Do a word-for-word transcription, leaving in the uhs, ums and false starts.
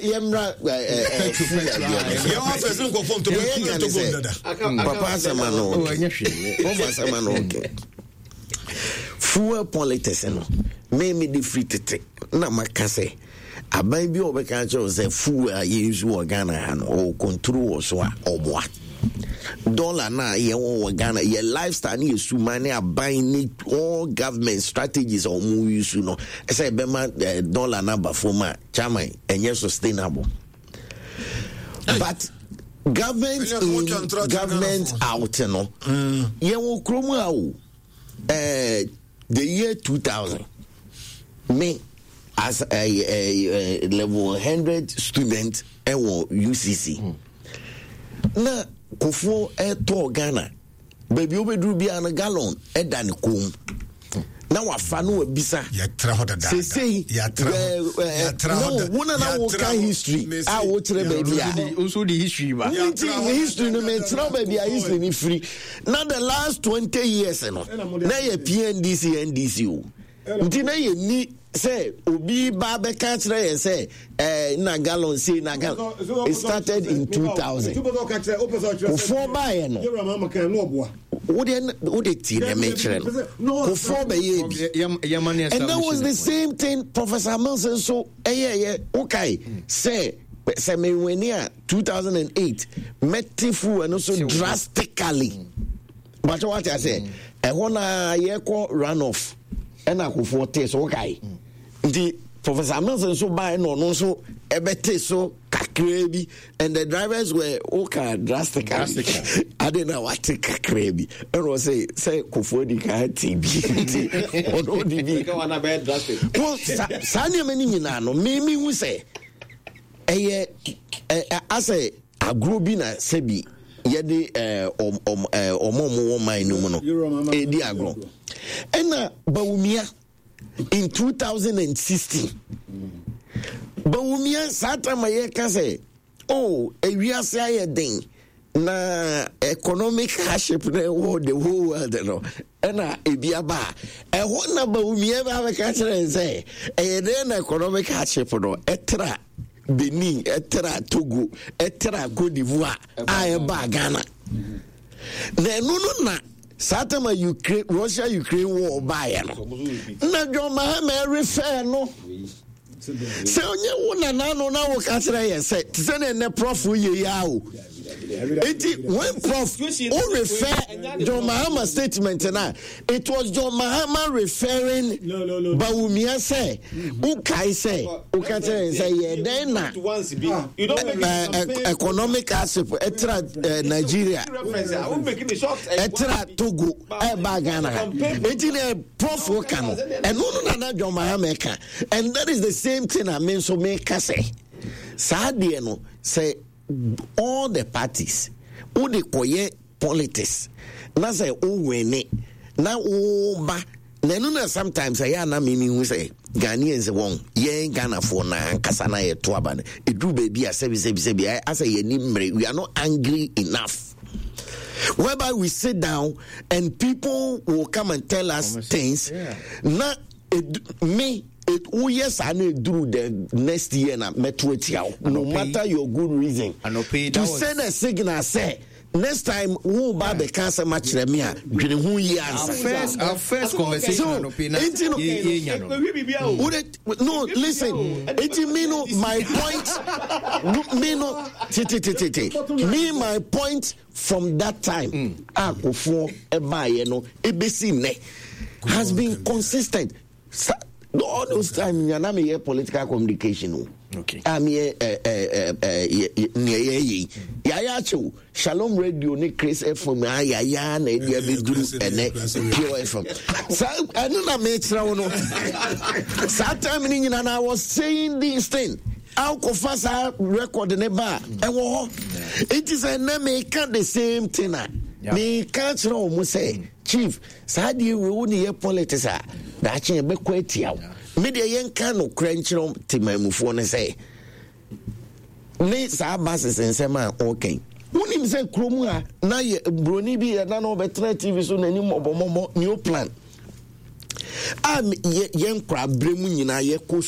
Yɛmmra. Papa, asɛm ano papa, asɛm ano ɔke fuel politics no, me me de firi tete na maka sɛ aban bi a ɔbɛka kyerɛ wo sɛ fuel a yɛnsu wɔ Ghana ha no, ɔwɔ control wɔ so a ɔboa dollar na yɛwɔ wɔ Ghana, yɛ lifestyle ne yɛ suman ne aban ne all government strategies a wɔn use no ɛsɛ ɛbɛma eh, dollar no aba fam a, chairman, ɛnyɛ sustainable. But government in, government out no, yɛwɔ kurom a o eh, the year two thousand, me as a, a, a level one hundred student ɛwɔ U C C mm. na Kofoɔ ɛtɔɔ Ghana baabi wobɛduru biara no, gallon ɛda ne kɔn na wafa no wabisa. Sesei no, wo na na woka history a wokyerɛ baabi a nso de history ba. Nti history no, mekyerɛ baabi a history no firi. Na the last twenty years no, na yɛ P N D C N D C o, nti na yɛ ni sɛ obi ba bɛka kyerɛ yɛn sɛ ɛɛ na gallon sei na gallon. It started in two thousand. Kofoɔ baayɛ no, wode wode tie na mekyerɛ no, Kofoɔ bɛyɛ bi and that was the same thing Professor Mills nso ɛyɛɛyɛ. Wokae sɛ sɛ mewɛni a two thousand eight mɛte fuel no so drastically bàtɛ, wate ase? Ɛhɔ na yɛkɔ run off ɛna Akofoɔ te so, wokae? Nti Professor Mills nso baa ɛna ɔno nso ɛbɛte so kakraa bi and the drivers were woka drastically ade na wate kakraa bi, ɛna ɔsɛ sɛ Kofoɔ di ka te bi, nti ɔno di bi well. Saa nneɛma no nyinaa no, mímí hu sɛ ɛyɛ ɛ asɛ agorɔ bi na sɛbi yɛde ɔmo ɔmo wɔ man no mu no ɛdi agorɔ. Ɛna Bawumia in twenty sixteen, Bawumia saa time a yɛka sɛ, oh, ewiase ayɛ den na economic hardship na ɛwɔ the whole world no, ɛna ebi aba a ɛhɔ na Bawumia bɛ abɛka kyerɛ sɛ ɛyɛ dɛn na economic hardship no ɛtra Benin, ɛtra Togo, ɛtra Cote d'Ivoire a ɛba Ghana? Na ɛno no na saa time a Ukraine, Russia Ukraine war baeɛ no, na John Mahama refɛ no sɛ ɔnyɛ wo nana no na woka kyerɛ yɛ sɛ te sɛ ne ɛnɛ Prof yɛ yi a o. Eti when Prof o refer John Mahama statement na it was John Mahama referring no, no, no, Bawumia sɛ wokae sɛ woka kyerɛ yɛn sɛ yɛ dɛn na economic hardship ɛtra Nigeria, ɛtra Togo, ɛba Ghana ha? Eti na Prof ka no, ɛno no nana John Mahama ka, and that is the same thing a me nso meka sɛ saa deɛ no sɛ all the parties wode kɔyɛ politics na sɛ wowene na woba na ɛno na sometimes ɛyɛ ana me mehu sɛ Ghanaians wɔn yɛn Ghanafoɔ na ankasa na yɛto aba no, ɛduru baabi a sɛbi sɛbi sɛbi asɛ yɛni mmerɛ, we are not angry enough, whereby we sit down and people will come and tell us things yeah. Na me woyɛ saa na eduru the next year na mɛto atia wo, no matter your good reason, to send a signal sɛ next time wo ba bɛka asɛm akyerɛ me a, dwene ho yie ansa. Our first our first conversation so nti no wode no, listen, nti me no, my point me no tete me, my point from that time mm. a Kofoɔ ɛbaayɛ no ebesi nnɛ has been consistent. Sa all those time nyana meyɛ political communication o okay. A meyɛ nea yɛyɛ yi, yɛayɛ akyɛw Shalom Radio ne Chris F M a yɛayɛ na ɛde abɛduru ɛnɛ Pure F M. Saa ɛno na mekyerɛ wo no, saa time no nyina na I was saying this thing. Akɔfa saa record ne ba a ɛwɔ hɔ. Nti sɛ ɛnɛ meka the same thing a meka kyerɛ wo mo sɛ, chief, saa deɛ wei wo ne yɛ politics a daakye yɛbɛkɔ atia wo. Me deɛ, yɛnka nokorɛ nkyerɛ temamufoɔ no sɛ ne saa buses nsɛm a ɔkɛn, wonim sɛ kurom a na yɛ buroni bi yɛda na ɔbɛtena T V so n'anim mɔbɔmɔbɔ, Neoplan a yɛn nkora berɛ mu nyinaa yɛkɔ sukuu.